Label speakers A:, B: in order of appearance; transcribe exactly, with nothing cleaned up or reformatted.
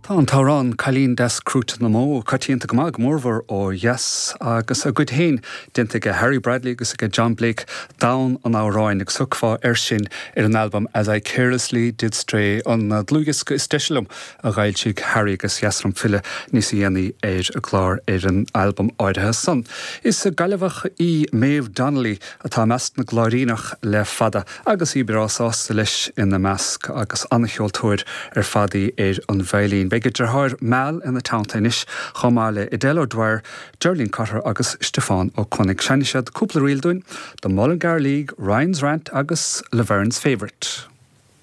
A: Tá an t-amhrán Cailín Deas Crúite na mBó coitianta go maith go mórmhór ó dheas agus a gcuid féin déanta ag Harry Bradley agus ag John Blake domhan an amhráin agus thiocfá air sin ar an albam As I Carelessly Did Stray an dlúthdhiosca is deise liom a d'fhoilsigh Harry agus is liom filleadh níos déanaí ar an gclár ar an albam áirithe san. Is Gaillimheach í Maeve Donnelly atá i measc na gCláiríneach le fada agus í breá sásta leis ina measc agus an-cheoltóir ar fad í ar an veidhlín. Beidh a deartháir Mal ina teannta anois chomh maith le Edel O'Dwyer, Geraldine Cotter agus Stiofán Ó Conaigh. Seinnfidh siad cúpla ríl dúinn, The Mullingar League, Ryan's Rant agus Laverne's Favourite.